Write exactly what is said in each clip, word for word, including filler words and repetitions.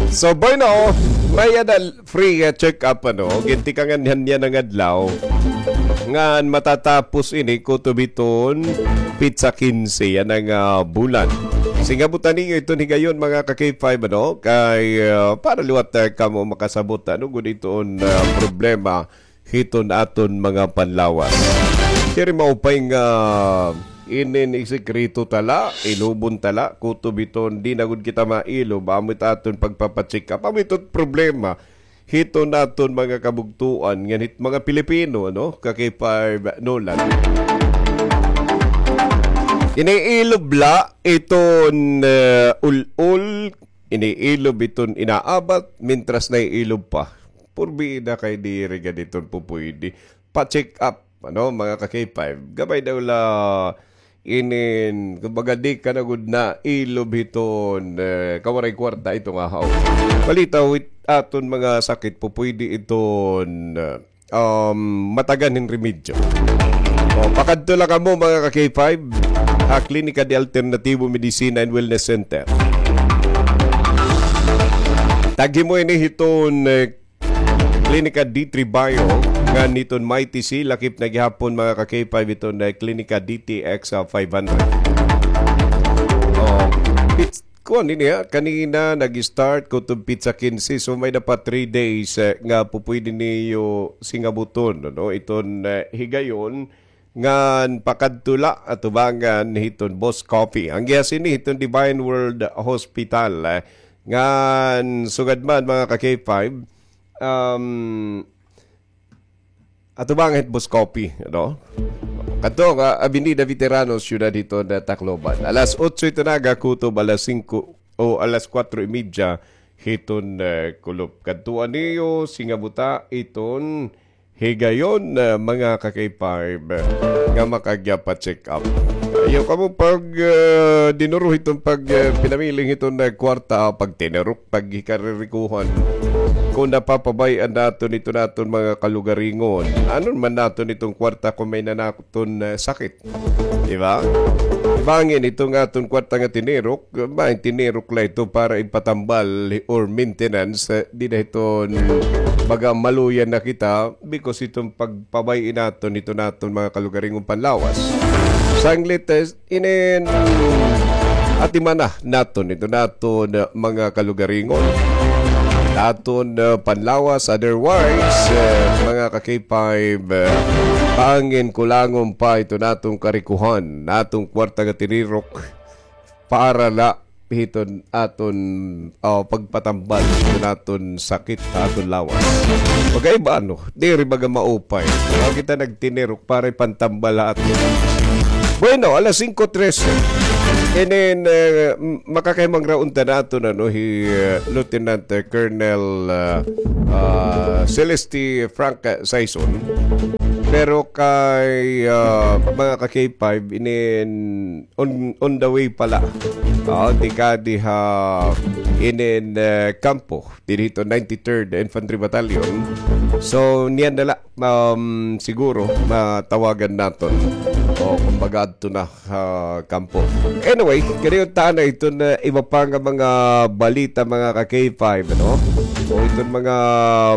So, bueno, may-ada free, ah, check-up, ano, gintikangan niya nga adlaw. Ngan matatapos ini kutob hiton pitsa kinse yana nga bulan. Singabutan niyo iton higayon, mga ka-K five, ano, kay, ah, para liwat, ah, kamo makasabot, ano gud iton, ah, problema hiton aton mga panlawas. Diri maupay nga inin isikreto ta la, ilubon ta la, kutob hiton di na gud kita mailob, amo it aton pagpapa-check up. Amo iton problema hiton aton mga kabugtoan, ngan hit mga Pilipino, ano, ka-K five Nolan. Iniilob la iton, eh, ul-ol, iniilob iton inaabat, mintras naiilob pa. Purbida kay diri gad iton pupuydi. Pa-check up, ano, mga ka-K five. Gamay daw la inin, kumbaga, di ka na gud nailob hiton, eh, kawaray kwarta ito nga haw. Palitaw it aton mga sakit, pupuydi iton, eh, um, matagan hin remedyo. O, pakadto la kamo, mga ka-K five, ha Klinika de Alternativo Medicina and Wellness Center. Taghi mo ini hiton, eh, Klinika D three Bio, ngan hiton Mighty C, lakip na gihapon, mga ka-K five, hiton, eh, Klinika D T X, ah, five hundred. O, it's, kuan ini, ha, kanina nag-start kutob pitsa kinse, so may-ada pa three days, eh, nga pupuydi niyo singabuton, ano, iton, eh, higayon, ngan pakadto la atubangan hiton Boss Coffee. An gihas ini hiton Divine World Hospital, eh, ngan sugad man, mga ka-K five, um, atubangan hit Boss Coffee, ano? Kadto nga Avenida Veterano, siyudad hiton Tacloban. Alas otso ito nga kutob alas singko o alas kuwatro y media hiton, eh, kulop. Kadtuan niyo singabuta iton higayon, eh, mga ka-K five, eh, nga makagya pa-check up. Ayaw kamo pag, eh, dinuro hiton pag, eh, pinamiling hiton, eh, kwarta, pagtinirok, paghikarerikuhan. Kon napapabay-an naton iton aton mga kalugaringon, ano man naton iton kwarta kon may-ada na naton, eh, sakit? Di ba? Bangin iton aton kwarta nga tinirok, bangin tinirok la ito para ipatambal or maintenance, eh, dida hiton baga maluya na kita because iton pagpabay-i naton iton aton mga kalugaringon panlawas. Sanglit, eh, inin atimana naton iton aton, eh, mga kalugaringon. Aton, eh, panlawas, otherwise, eh, mga ka-K five, eh, bangin kulangon pa iton aton karikuhan, aton kwarta nga tinirok para la hiton aton, ah, pagpatambal hiton aton sakit ha aton lawas. Pagkaiba, ano, diri baga maupay. Wa kita nagtinirok para ipantambal ha aton. Bueno, alas singko trese. Inin, eh, m-, makakahimang ra unta naton, ano, hi, eh, Lieutenant, eh, Colonel, ah, ah, Celeste Frank, eh, Saison. Pero kay, ah, mga ka-K five, inin on, on the way pa la. Oo, tikadi ha inin, eh, kampo, didi hiton ninety-third Infantry Battalion. So, niyan na la, um, siguro, matawagan naton. O, kumbaga, adto na ha kampo. Anyway, kaniyo ta na iton, eh, iba pa nga mga balita, mga ka-K five, ano? O iton mga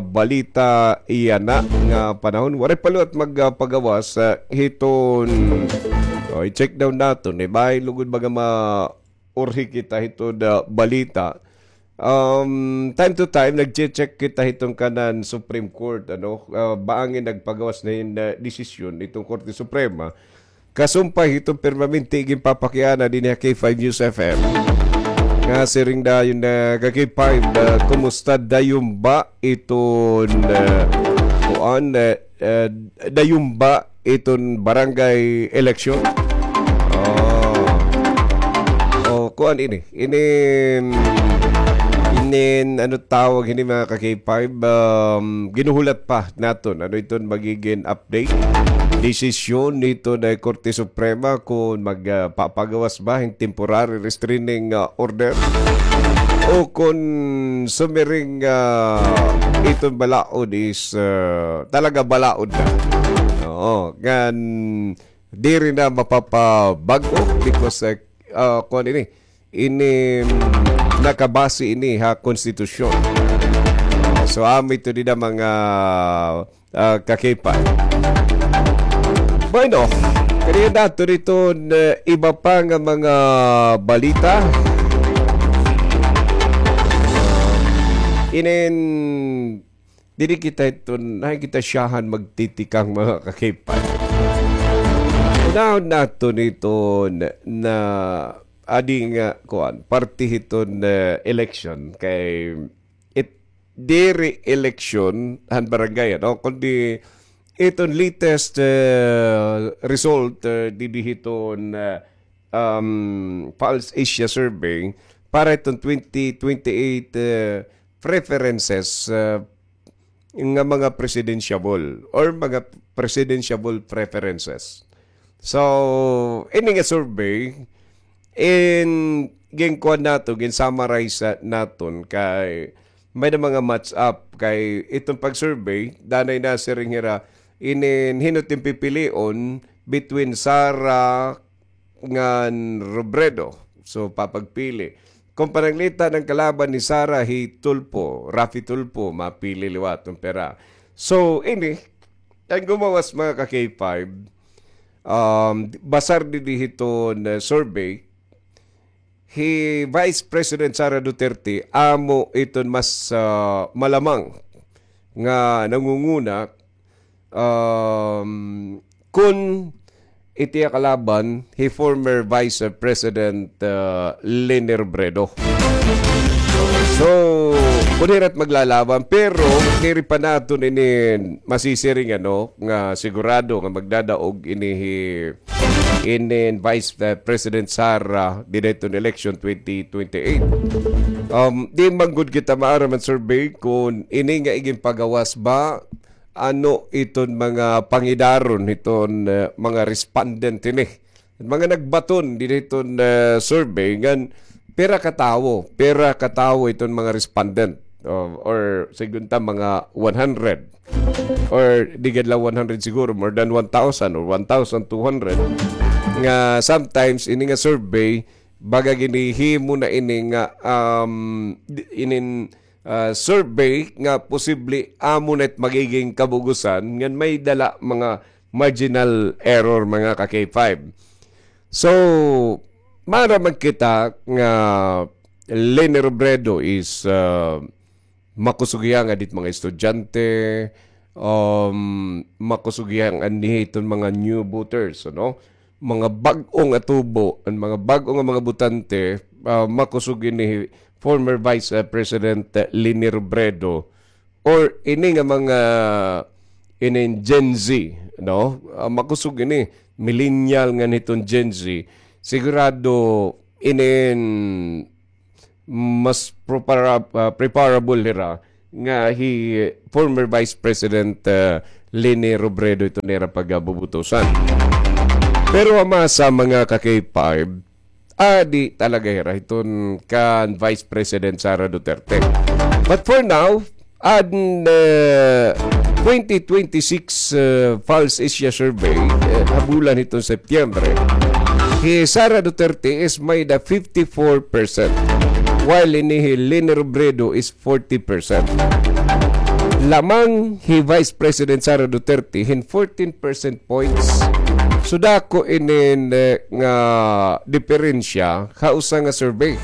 balita yana nga panahon. Waray pa liwat magpagawas, eh, hiton, o, i-check daw naton, eh, bangin lugod baga maurhi kita hiton, ah, balita. Um, time to time, nagche-check kita hiton kanan Supreme Court, ano, ah, bangin nagpagawas na hin, ah, desisyon iton Korte Suprema. Kasumpay hiton permanente ginpapakiana dinhi ha K five News F M. Nga siring dayon nga ka-K five, ah, kumusta dayon ba iton, ah, kuan, ah, ah, dayon ba iton barangay election? Oh. Oh, kuan ini. Inin, inin, ano tawag hini, mga ka-K five, um, ginuhulat pa naton. Ano iton magigin update? Desisyon hiton, ah, Korte Suprema kon mag, ah, papagawas ba hin temporary restraining, ah, order? O kon sumiring, ah, iton balaod is, ah, talaga balaod na. Oo, ngan diri na mapapabag-o because, ah, ah, kuan ini, ini, mm, nakabase ini ha konstitusyon. So, amo ito dida mga, ah, ka-K five. Bueno, kaniya nato dito na iba pa nga mga balita. Inin Diri kita hiton, hay kita siyahan magtitikang mga ka-K five. Unahon naton hiton na adi nga, kuan, parte hiton, eh, election kay it, diri election han barangay, ano, kundi iton latest, eh, result, eh, didi hiton, eh, um, Pulse Asia Survey para iton twenty twenty-eight, eh, preferences, eh, nga mga presidentiable or mga presidentiable preferences. So, ini nga survey, in, ginkuan nato, gin-summarize naton kay may na mga match up kay iton pag-survey, danay nasiring hira, inin hin-o it im pipilion between Sara ngan Robredo. So, papagpili. Kon pananglitan an kalaban ni Sara, hi Tulfo, Raffy Tulfo, mapili liwat an pira. So, ini, an gumawas mga ka-K five, um, basar didi hiton, eh, survey, hi Vice President Sara Duterte, amo iton mas, ah, malamang nga nangunguna, um, kun it iya kalaban, hi former Vice President, ah, Leni Robredo. So, kun hira it maglalaban, pero diri pa naton ini masisiring, ano, nga sigurado nga magdadaog ini hi inin Vice, uh, President Sara dida hiton election twenty twenty-eight. Um, di man gud kita maaram an survey kun ini nga iginpagawas ba, ano iton mga pangidaron hiton, uh, mga respondent ini. Mga nagbaton dida hiton, uh, survey ngan pira ka tawo, pira ka tawo iton mga respondent, uh, or sigun ta mga one hundred. Or di gad la one hundred siguro, more than one thousand or one thousand two hundred. Nga sometimes ini nga survey, baga ginhihimo na ini nga, um, di-, inin, ah, survey nga posible amo na it magiging kabug-osan ngan may dala mga marginal error, mga ka-K five. So, maaram man kita nga Leni Robredo is, ah, makusog hiya ngan hit mga estudyante, um, makusog hiya nganhi hiton mga new voters, ano? Mga bag-o nga tubo, an mga bag-o nga mga botante, ah, makusog ini former Vice, ah, President, ah, Leni Robredo, or ini nga mga, inin Gen Z, no? Ah, makusog ini, millennial ngan hiton Gen Z, sigurado inin mas prepara-, ah, preparable hira nga hi former Vice President, ah, Leni Robredo iton ira pagabubutusan. Pero ama sa mga ka-K five, adi talaga hira hiton kan Vice President Sara Duterte. But for now, an, ah, twenty twenty-six, ah, Pulse Asia Survey, eh, ha bulan hiton Septiembre, hi Sara Duterte is may-ada fifty-four percent, while ini hi Leni Robredo is forty percent. Lamang hi Vice President Sara Duterte hin fourteen percent points. So, dako inin, eh, nga diperensya ha usa nga survey.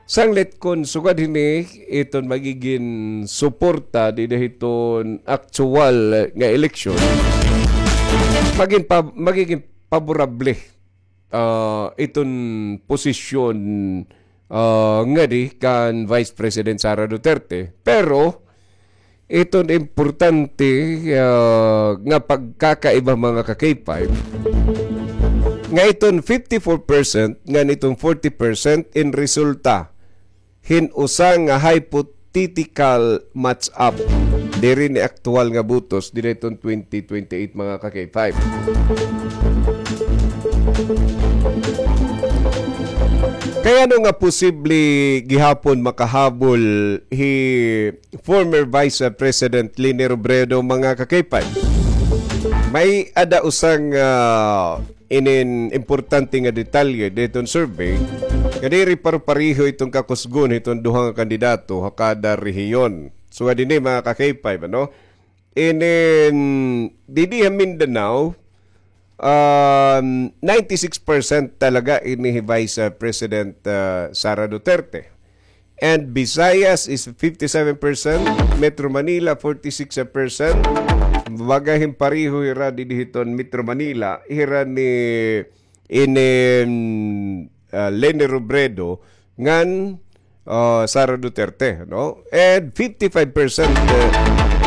Sanglit kon sugad hini iton magigin suporta dida hiton aktuwal nga eleksyon, magin pa-, magigin paborable, ah, iton posisyon, ah, ngadi kan Vice President Sara Duterte. Pero, iton importante, ah, nga pagkakaiba, mga ka-K five, nga iton fifty-four percent ngan iton forty percent in resulta hin usa nga hypothetical match-up diri ni aktuwal nga botos dida hiton twenty twenty-eight, mga ka-K five. Kay ano nga posible gihapon makahabol hi former Vice President Leni Robredo, mga ka-K five? May-ada usa nga, ah, inin importante nga detalye dida hiton survey. Nga diri paro-pareho iton kakusgon hiton duha nga kandidato ha kada rehiyon. So, nga dinhi, mga ka-K five, ano? Inin, didi ha Mindanao, um, ninety-six percent talaga ini hi Vice, uh, President, uh, Sara Duterte. And Visayas is fifty-seven percent, Metro Manila forty-six percent. Baga hin pareho hira didi hiton Metro Manila, hira ni ini, mm, ah, Leni Robredo ngan, ah, Sara Duterte, no? And fifty-five percent, eh,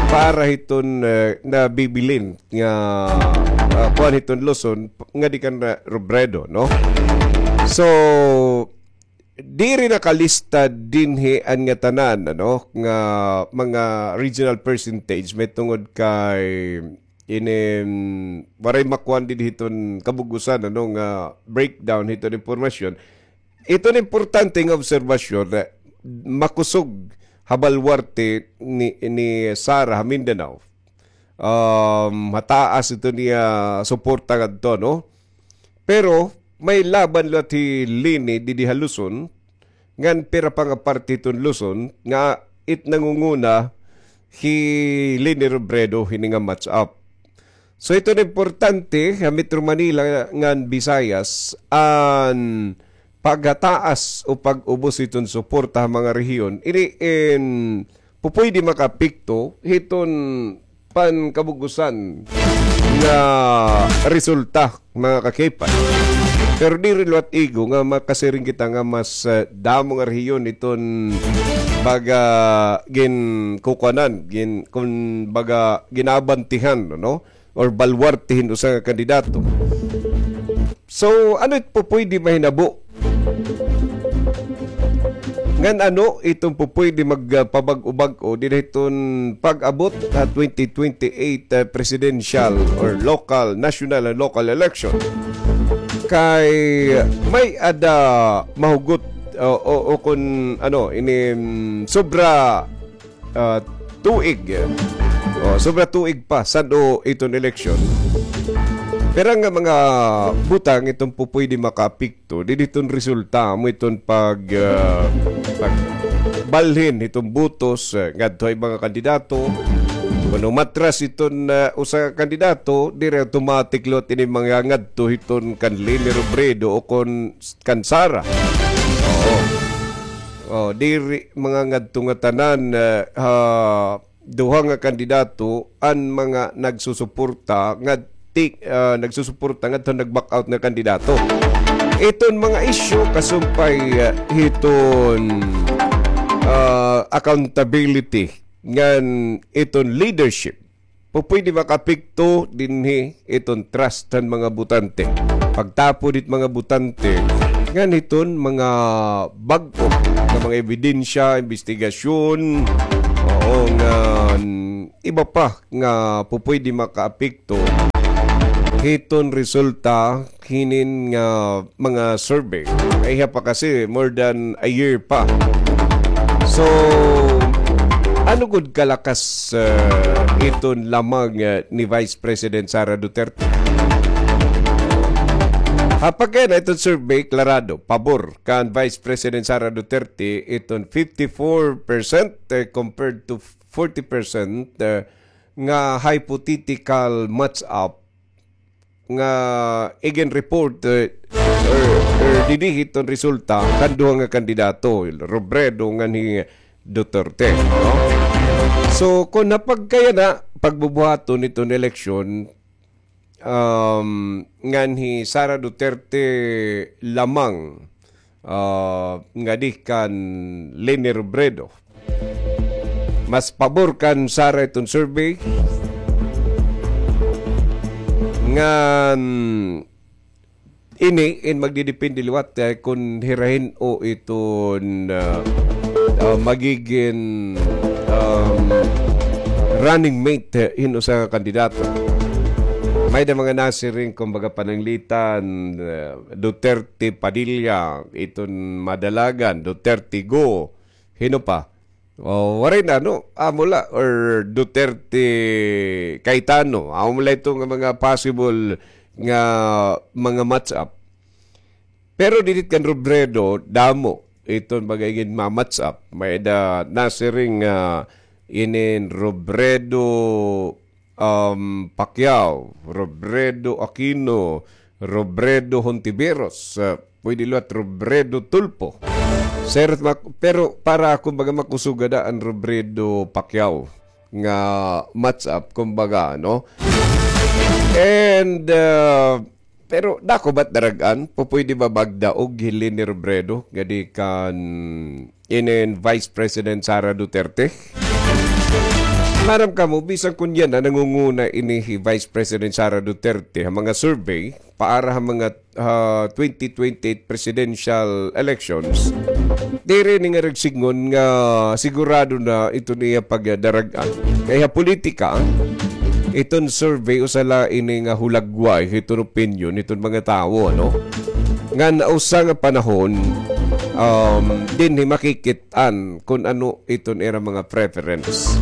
para hiton, eh, nabibilin nga, ah, kuan hiton Luzon nga di kan, ah, Robredo, no? So, diri nakalista dinhi an ngatanan, ano, nga mga regional percentage mahitungod kay ini, mm, waray makuan didi hiton kabug-osan, ano, nga breakdown hiton impormasyon. Iton importante nga obserbasyon, eh, makusog ha balwarte ni, ni Sara ha Mindanao. Um, mataas iton iya suporta ngadto, no? Pero may laban liwat hi Leni didi ha Luzon, ngan pira pa nga parte hiton Luzon nga it nangunguna hi Leni Robredo hini nga match up. So, iton importante ha Metro Manila ngan Visayas an paghataas o pag-ubos hiton suporta ha mga rehiyon. Ini in pupuydi makaapekto hiton pankabug-osan nga resulta, mga ka-K five. Pero diri liwat igo nga makasiring kita nga mas, eh, damo nga rehiyon iton baga ginkukuanan, gin-, kun baga ginabantihan, no? Or balwarte hin usa nga kandidato. So, ano it pupuydi mahinabo? Ngan ano iton pupuydi magpabag-o-bag-o dinhi hiton pag-abot ha twenty twenty-eight, ah, presidential or local, national and local election? Kay may-ada mahugot o, o, o kun ano, ini, mm, sobra ah, tuig. O, sobra tuig pa san-o iton eleksyon. Pira nga mga butang iton pupuydi makaapekto didi hiton resulta, amo iton pag, ah, pagbalhin hiton botos, ah, ngadto ha iba nga kandidato. Kun umatras iton, ah, usa nga kandidato, diri automatic liwat ini mangangadto hiton kan Leni Robredo o kon kan Sara. Oo. Oh, diri mangangadto ngatanan, eh, ha duha nga kandidato an mga nagsusuporta nga ti-, ah, nagsusuporta ngadto nag-back out nga kandidato. Iton mga isyu kasumpay, eh, hiton, ah, accountability ngan iton leadership. Pupuydi makaapekto dinhi iton trust han mga botante. Pagtapod hit mga botante ngan hiton mga bag-o nga mga ebidensya, imbestigasyon, oo, nga, mm, iba pa nga pupuydi makaapekto hiton resulta hinin nga mga survey. Ay, ha pa kasi, more than a year pa. So, ano gud kalakas, uh, iton lamang, uh, ni Vice President Sara Duterte? Ha pagkayana iton survey, klarado, pabor kan Vice President Sara Duterte iton fifty-four percent, eh, compared to forty percent, eh, nga hypothetical match-up nga igin-report, eh, or, or didi hiton resulta kan duha nga kandidato, Robredo ngan hi Duterte, no? So, kon ha pagkayana, pagbubuhaton hiton eleksyon, um, ngan hi Sara Duterte lamang, ah, ngadi kan Leni Robredo. Mas pabor kan Sara iton survey. Ngan ini in magdidepende liwat, eh, kon hira hin-o iton, ah, ah, magigin, um, running mate, eh, hin usa nga kandidato. May-ada mga nasiring, kumbaga, pananglitan, eh, Duterte Padilla, iton madalagan, Duterte Go, hin-o pa? O, waray na, no? Amo la, or Duterte Cayetano. Amo la ito nga mga possible nga mga match-up. Pero didit kan Robredo, damo iton baga ginma-match up. May-ada nasiring, ah, inin Robredo, um, Pacquiao, Robredo Aquino, Robredo Hontiveros, ah, pwede liwat Robredo Tulfo. Sir, mak-, pero para ako baga makusog ada an Robredo Pacquiao nga match up, kumbaga, no? And, ah, pero dako ba it darag-an? Pupwede ba magdaog hi Leni Robredo ngadi kan inin Vice President Sara Duterte? Maaram kamo, bisan kun yana nangunguna ini hi Vice President Sara Duterte ha mga survey para ha mga, ah, twenty twenty-eight presidential elections, diri ini nga nagsidngon nga sigurado na iton iya pagdarag-an. Kay ha politika, iton survey usa la ini nga hulagway hiton opinyon hiton mga tawo, no? Ngan usa nga panahon, um, dinhi makikit-an kun ano iton ira mga preference.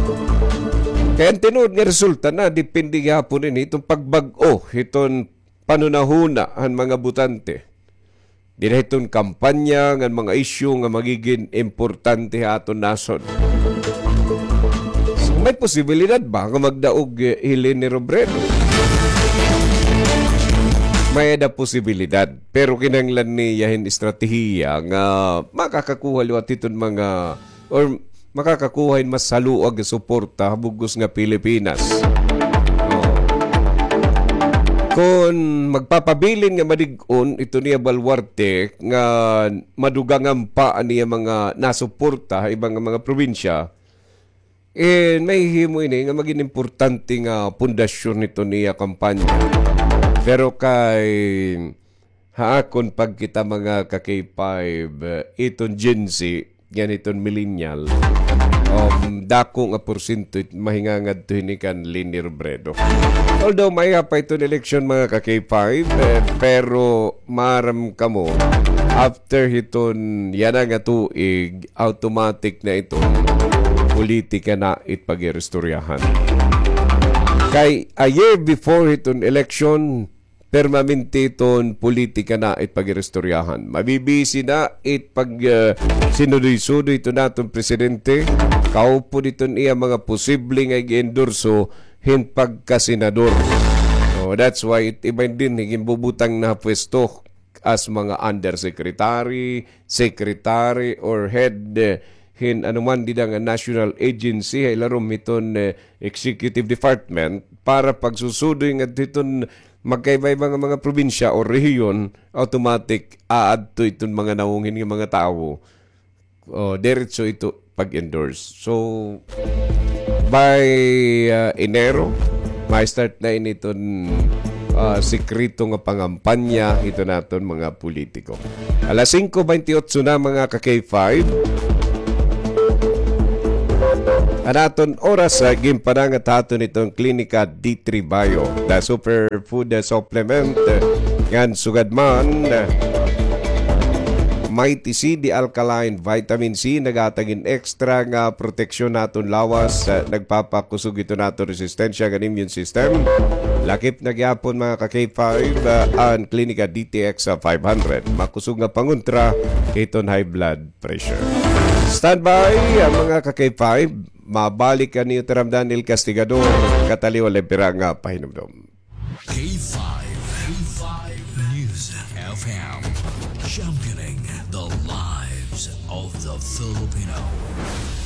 Kay an tinuod nga resulta na depende gihapon ini hiton pagbag-o hiton panhunahuna han mga botante. Dinhi hiton kampanya ngan mga isyu nga magigin importante ha aton nasod. So, may posibilidad ba nga magdaog, eh, hi Leni Robredo? May-ada posibilidad, pero kinahanglan niya hin estratehiya nga makakakuha liwat hiton mga or makakakuha hin mas haluag nga suporta ha bug-os nga Pilipinas. Oh. Kon magpapabilin nga madig-on iton iya baluarte nga madugangan pa an iya mga nasuporta ha iba nga mga probinsya, eh, mahihimo ini nga magin importante nga pundasyon hiton iya kampanya. Pero kay ha akon pagkita, mga ka-K five, eh, iton Gen Z, ngan iton millennial, um, dako nga porsyento it mahingangadto hini kan Leni Robredo. Although maiha pa iton eleksyon, mga ka-K five, eh, pero maaram kamo, after hiton yana nga tuig, automatic na iton politika na it pag-iristoryahan. Kay a year before hiton eleksyon, permanente iton politika na it pag-iristoryahan. Mabibisi na it pag, eh, sinudoy-sudoy iton aton presidente, kaupod iton iya mga posible nga ig-endorso hin pagkasenador. So, that's why it iba dinhi ginbubutang na ha pwesto as mga undersecretary, secretary, or head, eh, hin anuman dida nga national agency, ha ilarom hiton, eh, executive department, para pagsusudoy ngadto hiton magkaiba-iba nga mga probinsya o rehiyon, automatic aadto iton mga nawong hini nga mga tawo. O, diretso ito pag-endorse. So, by, ah, Enero, ma-start na ini iton, ah, sekreto nga pangampanya hiton aton mga politiko. Alas singko bente otso na, mga ka-K five. An aton oras, ah, ginpanangat ha aton iton Klinika D three Bio, the superfood, ah, supplement, ah, ngan sugad man, ah, Mighty C, the alkaline vitamin C, naghatag hin extra nga proteksyon ha aton lawas, ah, nagpapakusog hiton aton resistensya ngan immune system. Lakip na gihapon, mga ka-K five, ah, an Klinika D T X, ah, five hundred. Makusog nga pangontra hiton high blood pressure. Standby, ah, mga ka-K five. Mabalik an iyo tiramdan, El Castigador. Kataliwan la pira nga pahinumdom. K five, K five News F M, championing the lives of the Filipino.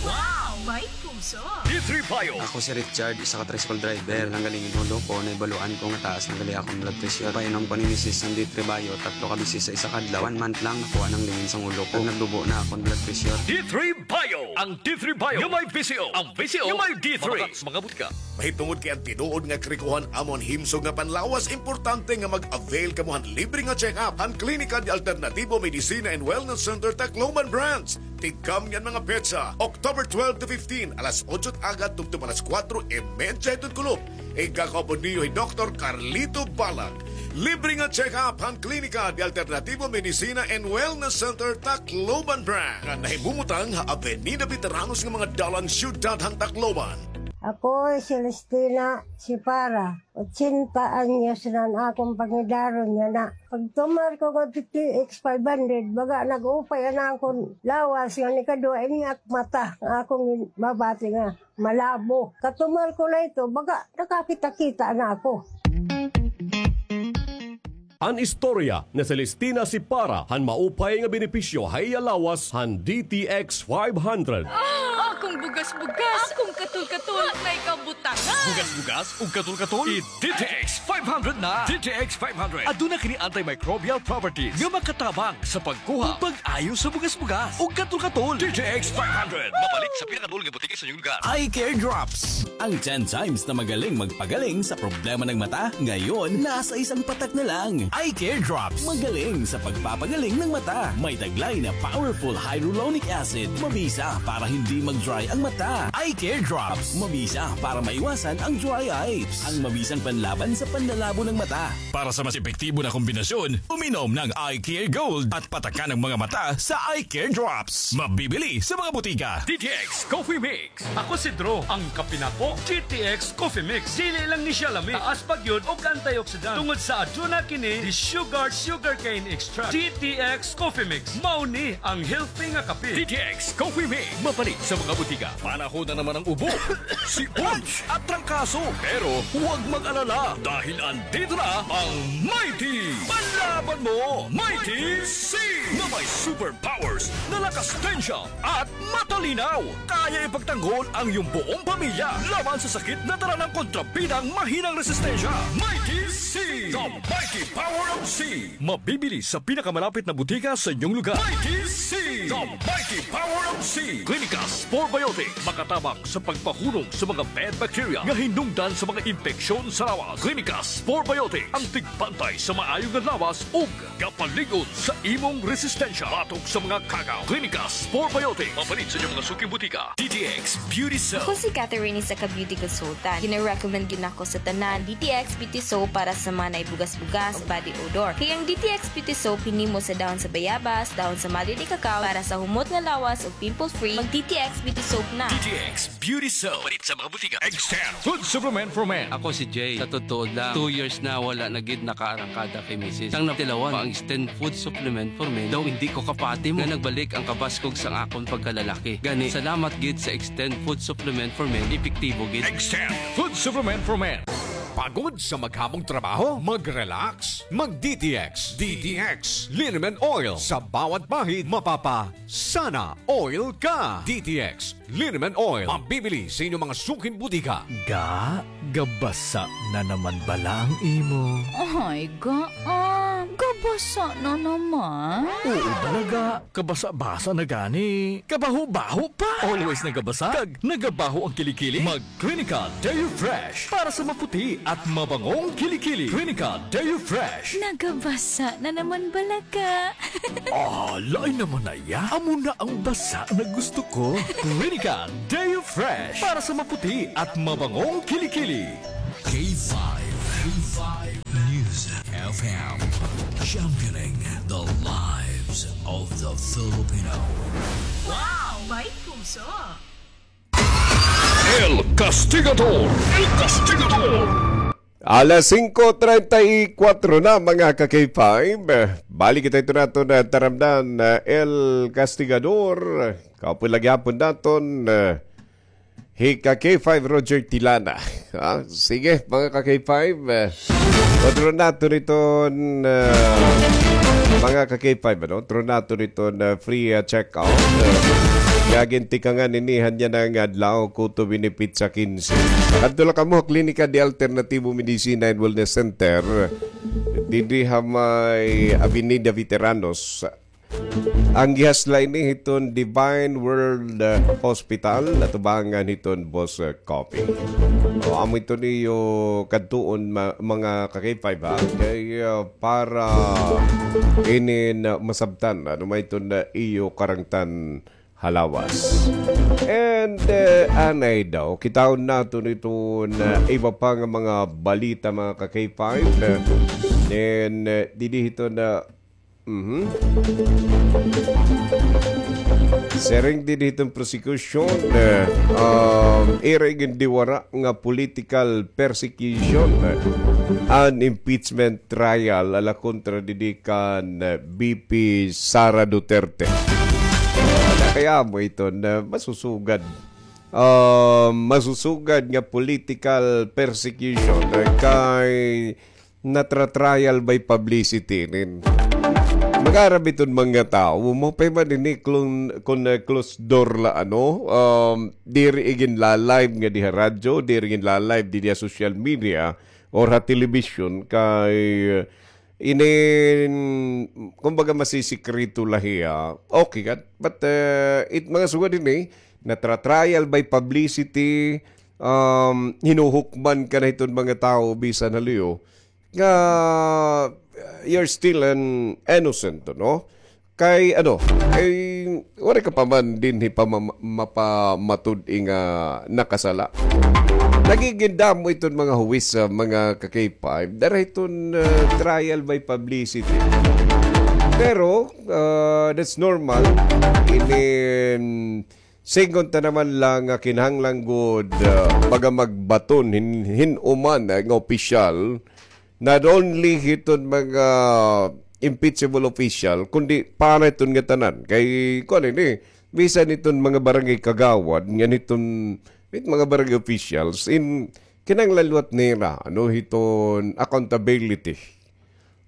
Wow! May puso! D three Bio. Ako si Richard, isa ka tricycle driver. Nanggaling an ulo ko, nahibaluan ko nga taas na gali akon blood pressure. Painom ko ni misis an D three Bio, tatlo ka beses sa isa ka adlaw. One month lang, nakuha na an lingin sa ulo ko. Nagdubo na akon blood pressure. D three Bio. Ang D three Bio nga may V C O. Ang V C O nga may D three. Mabakal sa mga butika. Mahitungod kay an tinuod nga karikohan amo an himsog nga panlawas, importante nga mag-avail kamo han libre nga check-up han Klinika de Alternativo Medicina and Wellness Center, Tacloban Branch. Tigkambi an mga petsa, October twelve to fifteen, alas otso it aga tubtob alas kuwatro y medya hiton kulop. Igkakaupod niyo hi Doktor Carlito Balag. Libre nga check-up han Klinika de Alternativo Medicina and Wellness Center, Tacloban Branch, nga nahimumutang ha Avenida Veteranos nga mga dalan, siyudad han Tacloban. Ako hi Celestina Sipara, ochenta anyos na an akon pangidaron yana. Pagtumar ko ngadto D T X five hundred, baga nag-upay an akon lawas, ngan ikaduha ini ak mata, nga akon babati nga malabo. Katumar ko na ito, baga nakakita-kita na ako. An istorya ni Celestina Sipara han maupay nga benepisyo ha iya lawas han D T X five hundred. Ah, akon bugas-bugas, akon katol-katol, may kabutangan. Bugas-bugas ug katol-katol, i-D T X five hundred na. D T X five hundred. Aduna kini antimicrobial properties nga makatabang sa pagkuha ug pag-ayo sa bugas-bugas ug katol-katol. D T X five hundred. Mapalit sa pinakaduol nga butika sa inyong lugar. Eye Care Drops. Ang ten times na magaling magpagaling sa problema ng mata, ngayon nasa isang patak na lang. Eye Care Drops. Magaling sa pagpapagaling ng mata. May taglay na powerful hyaluronic acid. Mabisa para hindi mag-dry ang mata. Eye Care Drops. Mabisa para maiwasan ang dry eyes. Ang mabisang panlaban sa panlalabo ng mata. Para sa mas epektibo na kombinasyon, uminom ng Eye Care Gold at patakan ang mga mata sa Eye Care Drops. Mabibili sa mga butika. D T X Coffee Mix. Ako si Drew, ang kape nako, D T X Coffee Mix. Dili lang ni siya lami, taas pa gyud og antioxidant. Tungod sa aduna kini di sugar, sugarcane extract. D T X Coffee Mix. Mao ni ang healthy nga kape. D T X Coffee Mix. Mapalit sa mga butika. Panahon na naman ang ubo, sipon, at trangkaso. Pero huwag mag-alala dahil andito na ang Mighty Panlaban Mo, Mighty C, na may superpowers na lakas tensya at matalinaw. Kaya ipagtanggol ang iyong buong pamilya laban sa sakit na dala ng kontrabidang mahinang resistensya. Mighty C, the mighty power of C. Mabibili sa pinakamalapit na butika sa inyong lugar. Mighty C, the mighty power of C. Clinicas Probiotic, makatabang sa pagpahunong sa mga bad bacteria nga hinungdan sa mga impeksyon sa lawas. Clinicas Probiotic, ang tigbantay sa maayo nga lawas ug gapalig-on sa imong resistensya batok sa mga kagaw. Clinicas Probiotic, mapalit sa inyong mga suking butika. D T X Beauty Soap. Ako si Catherine, isa ka beauty consultant. Gina-recommend gyud nako sa tanan D T X Beauty Soap para sa mga naay bugas-bugas, body odor. Kay ang D T X Beauty Soap hinimo sa dahon sa bayabas, dahon sa malili cacao para sa humot nga lawas ug pimple free. Mag D T X Beauty Soap na. D T X Beauty Soap. Mapalit sa mga butika. Extend Food Supplement for Men. Ako si Jay. Sa totoo lang, two years na wala na gid nakaarangkada kay misis. Sang natilawan pa ang Extend Food Supplement for Men, daw indi ko kapati mo nga nagbalik ang kabaskog sang akon pagkalalaki. Gani, salamat gid sa Extend Food Supplement for Men, epektibo gid. Extend Food Supplement for Men. Pagod sa maghamong trabaho? Mag-relax. Mag D T X. D T X Liniment Oil. Sa bawat bahid, mapapa-sana oil ka. D T X Liniment Oil. Mabibili sa inyong mga suking butika. Ga, gabasa na naman bala ang imo? Ay, Ga, ah, gabasa na naman? Oo bala, Ga. Kabasa-basa na gani. Kabaho-baho pa. Always nagabasa kag nagabaho ang kilikili? Mag Clinical Deo Fresh para sa maputi at mabangong kilikili. Clinical Deo Fresh. Nagabasa na naman bala, Ga. Ah, lain naman na iya. Amo na ang basa na gusto ko. Clinical Deo Fresh para sa maputi at mabangong kilikili. K five, K five News F M, championing the lives of the Filipino. Wow, may puso. El Castigador. El Castigador. Alas singko treinta y cuatro na, mga ka-K five. Balik kita ito naton, ah, taramdan, ah, El Castigador. Kaupod la gihapon naton, ah, hi ka-K five Roger Tilana. Ha? Sige, mga ka-K five, ah, otro naton iton, ah, mga ka-K five, ano? Otro naton iton, ah, free, ah, check-up. Ah, nga gintikangan ini han yana nga adlaw, kutob ini petsa kinse. Kadto la kamo ha Klinika de Alternativo Medicina and Wellness Center, didi ha may Avenida Veteranos. Ang gihasla ini hiton Divine World, ah, Hospital, atubangan hiton Boss, ah, Coffee. O, amo iton iyo kadtuon, ma-, mga ka-K five, ha? Kay, ah, para inin, ah, masabtan, ano man iton, ah, iyo karangtan ha lawas. And, ah, anay daw, kitaon naton iton, ah, iba pa nga mga balita, mga ka-K five. And, ah, didi hiton, ah, Mhm. Siring dinhi hiton prosecution, eh, um, ira igindiwara nga political persecution, eh, an impeachment trial ala kontra didi kan, eh, V P Sara Duterte. Kay amo iton, eh, masusugad. Um, masusugad nga political persecution, eh, kay natra-trial by publicity inin. Mag-aram iton mga tawo, maupay man ini klon-, kon, eh, closed door la, ano, um, diri iginla-live ngadi ha radyo, diri iginla-live didi ha social media or ha television kay, eh, inin, kumbaga, masisikreto la hiya. Okay gad, but, eh, it mga sugad ini, natra-trial by publicity, um, hinuhukman ka na hiton mga tawo bisan ha luyo, nga, uh, you're still an innocent, no? Kay, ano, kay, waray ka pa man dinhi pa ma-, mapamatud-i nga nakasala. Nagigindamo iton mga huwis sa mga ka-K five. Dara hiton, uh, trial by publicity. Pero, uh, that's normal. Inin, Sidngon ta naman la nga kinahanglan gud, ah, baga magbaton hin-, hin-o man, ah, nga opisyal, not only hiton mga impeachable official, kundi para hiton ngatanan. Kay, kuan ini, bisan hiton mga barangay kagawad, ngan hiton, hit mga barangay officials, in, kinahanglan liwat nira, ano, hiton accountability.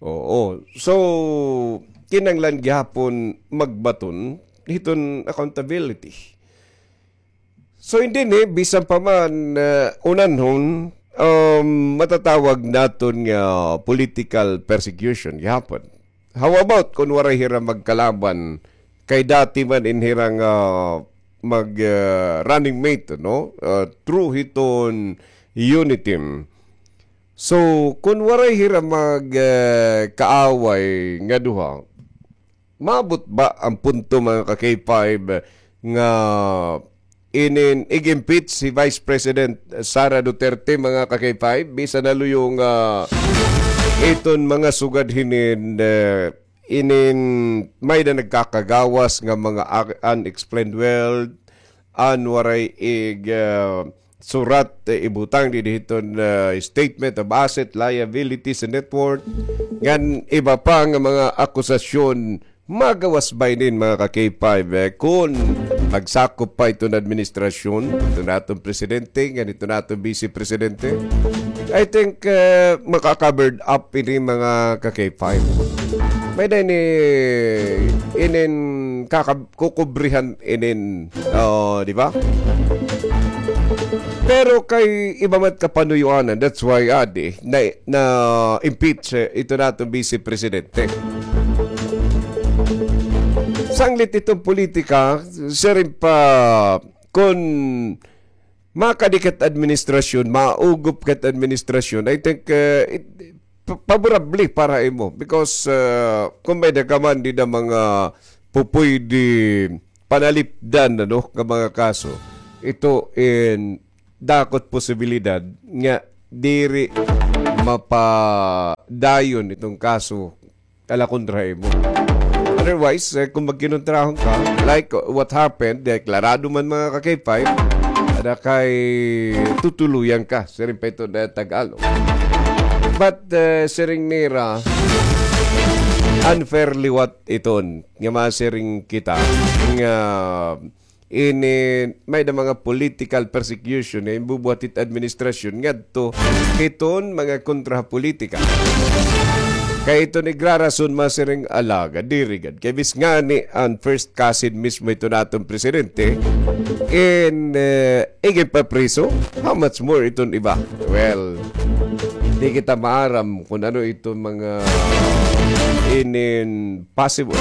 Oo. So, kinahanglan gihapon magbaton hiton accountability. So, hindi ni, bisan pa man, ah, unanhon, um, matatawag naton nga political persecution gihapon. How about kun waray hira magkalaban kay dati man in hira nga mag, ah, running mate, no? Ah, through hiton Uniteam. So, kun waray hira mag, eh, kaaway nga duha, maabot ba an punto, mga ka-K five, nga inin ig-impeach si Vice President Sara Duterte, mga ka-K five, bisan ha luyo nga iton mga sugad hinin, eh, inin may-ada nagkakagawas nga mga a-, unexplained wealth, an waray ig, ah, surat, eh, ibutang didi hiton, ah, statement of asset, liabilities, and net worth. Ngan iba pa nga mga akusasyon, magawas ba inin, mga ka-K five, eh, kun magsakop pa iton administrasyon, iton aton presidente, ngan iton aton vice presidente? I think, eh, maka-covered up ini, mga ka-K five. May-ada ini, inin kakab-, kukubrihan inin, oh, di ba? Pero kay iba man kapanuyuanan, that's why, adi, na, na-impeach, eh, iton aton vice presidente. Sanglit iton politika, siring pa, kun makadi ka hit administrasyon, maugop ka hit administrasyon, I think, uh, it, pa-, favorable para imo. Because, uh, kun may-ada ka man dida mga pupuydi panalipdan, ano, nga mga kaso, ito in dako it posibilidad nga diri mapadayon iton kaso ala kontra ha imo. Otherwise, eh, kun magkinontrahon ka, like what happened, deklarado man, mga ka-K five, ada kay tutuluyan ka, siring pa iton Tagalog. But, eh, siring nira, unfair liwat iton, nga masiring kita, nga ini may-ada mga political persecution nga ginbubuhat hit administrasyon ngadto hiton mga kontra ha politika. Kay iton igrarason masiring alagad, diri gad. Kay bis ngani an first cousin mismo hiton aton presidente, in, eh, iginpapriso, how much more iton iba? Well, di kita maaram kun ano iton mga inin possible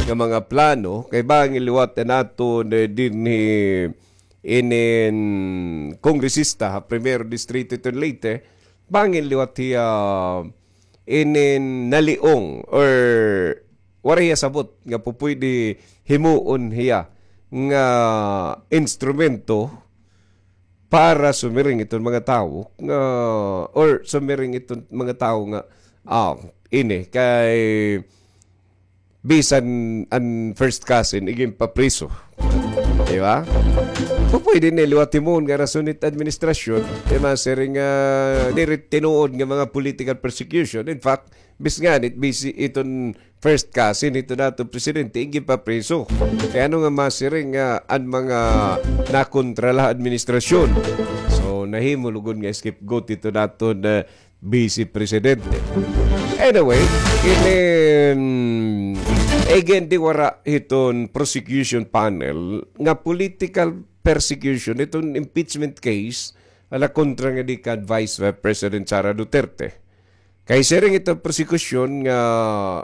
nga mga plano, kay bangin liwat an aton, eh, dinhi inin kongresista ha Primero Distrito hiton Leyte, bangin liwat hiya inin naliong or waray hiya sabot nga pupuydi himuon hiya nga instrumento para sumiring iton mga tawo nga, or sumiring iton mga tawo nga, ah, ini kay bisan an first cousin, iginpapriso. Di ba? Pupwede na liwat himoon nga rason it administrasyon, di masiring nga diri tinuod nga mga political persecution. In fact, bis nganhi, bisi iton first cousin hito naton presidente, iginpapriso. Kay ano nga masiring nga an mga nakontra la administrasyon? So, nahimo lugod nga scapegoat hito naton, ah, Vice Presidente. Anyway, inin, again, di wara hiton prosecution panel nga political persecution, iton impeachment case, ala kontra ngadi kan Vice President Sara Duterte. Kay siring iton prosecution nga,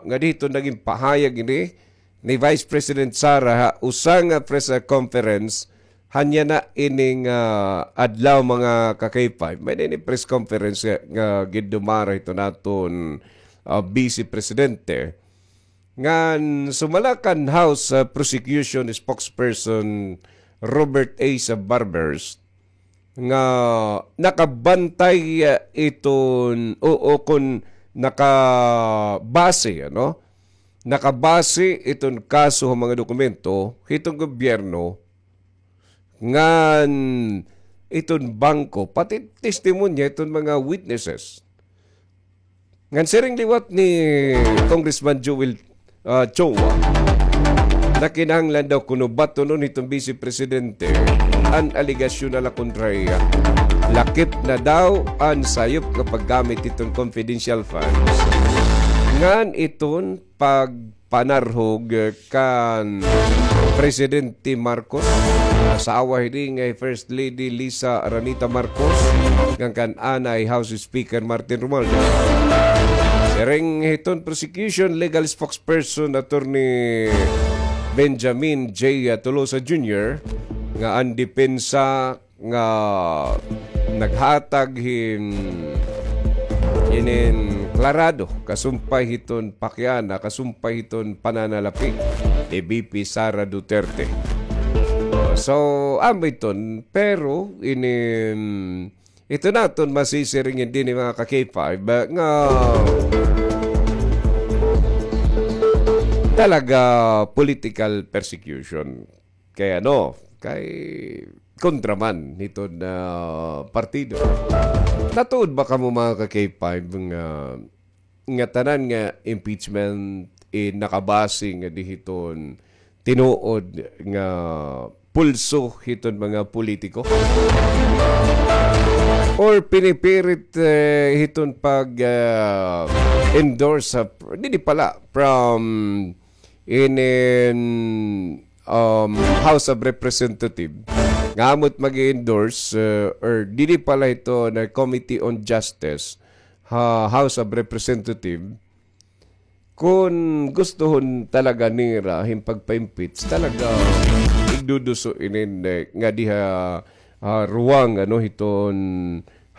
ngadi hiton nagin pahayag ini ni Vice President Sara ha usa nga press conference, hanya na ining, ah, adlaw, mga ka-K five. May ini press conference nga, nga gindumara hito naton, ah, Vice Presidente. Ngan sumala kan House, ah, Prosecution Spokesperson Robert A. Barbers nga nakabantay, ah, iton, o, o kon nakabase, ano? Nakabase iton kaso ha mga dokumento hiton gobyerno ngan iton bangko, pati testimonya iton mga witnesses. Ngan siring liwat ni Congressman Joel, ah, Chua, na kinahanglan daw kuno batonon hiton Vice Presidente an alegasyon na la kontra hiya. Lakip na daw an sayop nga paggamit hiton confidential funds ngan iton pag panarhog, eh, kan Presidente Marcos, asawa hini nga hi First Lady Liza Araneta Marcos, ngan kan anay House Speaker Martin Romualdez. Siring hiton prosecution legal spokesperson Attorney Benjamin J. Tolosa Junior nga an depensa nga naghatag hin inin klarado kasumpay hiton pakiana, kasumpay hiton pananalapi ni V P Sara Duterte. So, amo iton, pero inin, ito naton masisiring dinhi, mga ka-K five, nga talaga political persecution. Kay ano, kay kontra man hiton partido. Natuod ba kamo, mga ka-K five, nga, nga tanan nga impeachment, eh, nakabase ngadi hiton tinuod nga pulso hiton mga politiko? Or pinipirit, eh, hiton pag, ah, endorse sa, didi pala, from inin, um, House of Representative, nga amo it mag-endorse, uh, or didi pala ito na Committee on Justice ha House of Representative, kun gustuhon talaga nira hin pagpa-impeach, talaga igduduso inin, eh, nga diha, ah, ruwang, ano, hiton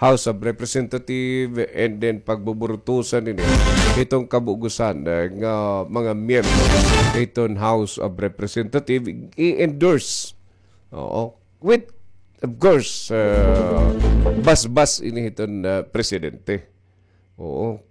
House of Representative, and then pagbuburutusan ini hiton kabugusan, eh, nga mga miyembro hiton House of Representative i-endorse. Oo. With, of course, uh, basbas ini hiton, uh, presidente. Oo.